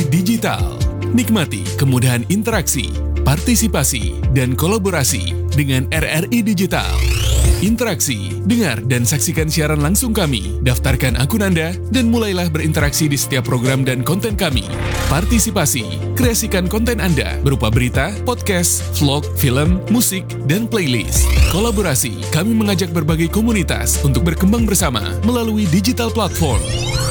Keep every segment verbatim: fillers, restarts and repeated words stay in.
Digital. Nikmati kemudahan interaksi, partisipasi, dan kolaborasi dengan R R I Digital. Interaksi, dengar, dan saksikan siaran langsung kami. Daftarkan akun Anda dan mulailah berinteraksi di setiap program dan konten kami. Partisipasi, kreasikan konten Anda berupa berita, podcast, vlog, film, musik, dan playlist. Kolaborasi, kami mengajak berbagai komunitas untuk berkembang bersama melalui digital platform.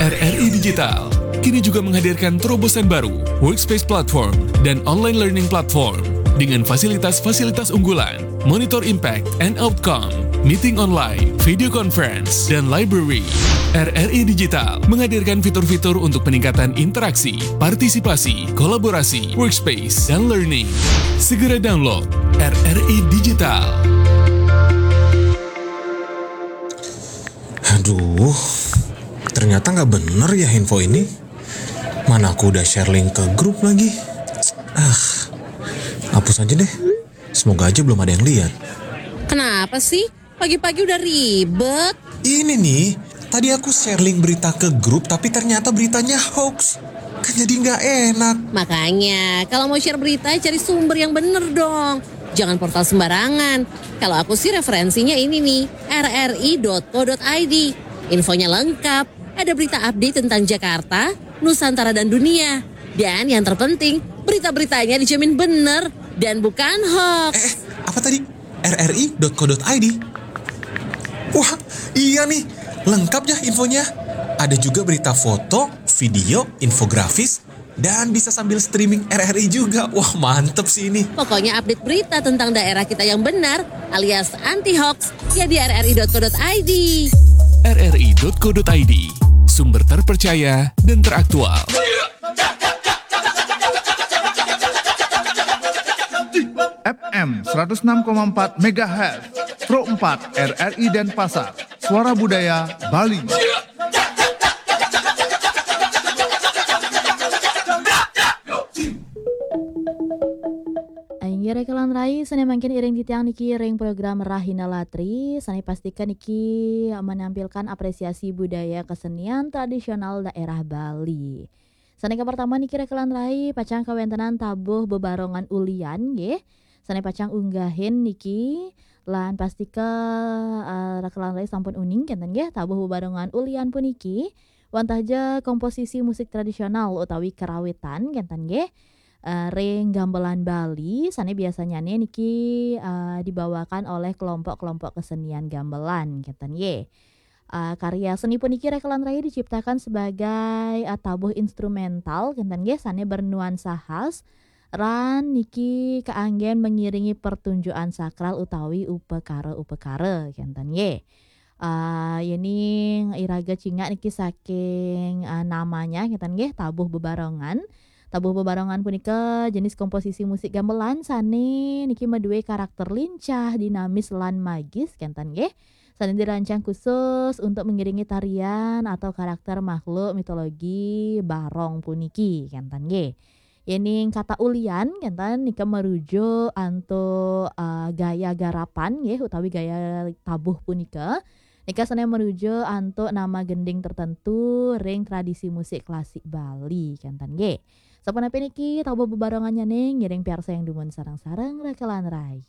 R R I Digital kini juga menghadirkan terobosan baru, Workspace Platform dan Online Learning Platform, dengan fasilitas-fasilitas unggulan, Monitor Impact and Outcome, meeting online, video conference, dan library. R R I Digital menghadirkan fitur-fitur untuk peningkatan interaksi, partisipasi, kolaborasi, workspace, dan learning. Segera download R R I Digital. Aduh, ternyata nggak bener ya info ini. Mana aku udah share link ke grup lagi. Ah, hapus aja deh. Semoga aja belum ada yang lihat. Kenapa sih? Pagi-pagi udah ribet. Ini nih, tadi aku share link berita ke grup tapi ternyata beritanya hoax. Kan jadi nggak enak. Makanya, kalau mau share berita, cari sumber yang bener dong. Jangan portal sembarangan. Kalau aku sih referensinya ini nih, R R I dot co dot I D. Infonya lengkap. Ada berita update tentang Jakarta, Nusantara dan dunia. Dan yang terpenting, berita-beritanya dijamin bener dan bukan hoax. Eh, apa tadi? R R I dot co dot I D. Wah, iya nih, lengkap ya infonya. Ada juga berita foto, video, infografis, dan bisa sambil streaming R R I juga. Wah, mantep sih ini. Pokoknya update berita tentang daerah kita yang benar alias anti hoax ya di R R I dot co dot I D. R R I dot co dot I D, sumber terpercaya dan teraktual. F M seratus enam koma empat megahertz, Pro empat R R I Denpasar, Suara Budaya Bali. Inggih rekelan rai, sané mangkin iring titiang niki ring program Rahina Latri, sané pastikan niki menampilkan apresiasi budaya kesenian tradisional daerah Bali. Sané kapertama niki rekelan rai, pacang kawéntenan tabuh bebarongan ulian nggih. Sané pacang unggahin niki lan pastika eh, rekelan rai sampun uning kénten nggih, tabuh bebarongan ulian puniki wantah ja komposisi musik tradisional utawi karawitan kénten nggih. Eh, ring gamelan Bali sané biasanyane niki eh, dibawakan oleh kelompok-kelompok kesenian gamelan kénten nggih. Eh, karya seni puniki rekelan rai diciptakan sebagai eh, tabuh instrumental kénten nggih, sané bernuansa khas lan niki kaanggén mengiringi pertunjukan sakral utawi upakara-upakara kénten nggih. Eh, yéning iraga cingak niki saking eh, namanya kénten nggih, tabuh bebarongan. Tabuh bebarongan punika jenis komposisi musik gamelan sané niki madué karakter lincah, dinamis lan magis kénten nggih. Sané dirancang khusus untuk mengiringi tarian atau karakter makhluk mitologi barong puniki kénten nggih. Yéning kata ulian kénten nika merujuk antuk eh, gaya garapan nggih utawi gaya tabuh punika. Nika sané merujuk antuk nama gending tertentu ring tradisi musik klasik Bali kénten nggih. Sapunapi niki tabuh bebarongannya ning ngiring piarsa yang dumun sareng-sareng rekelan rai.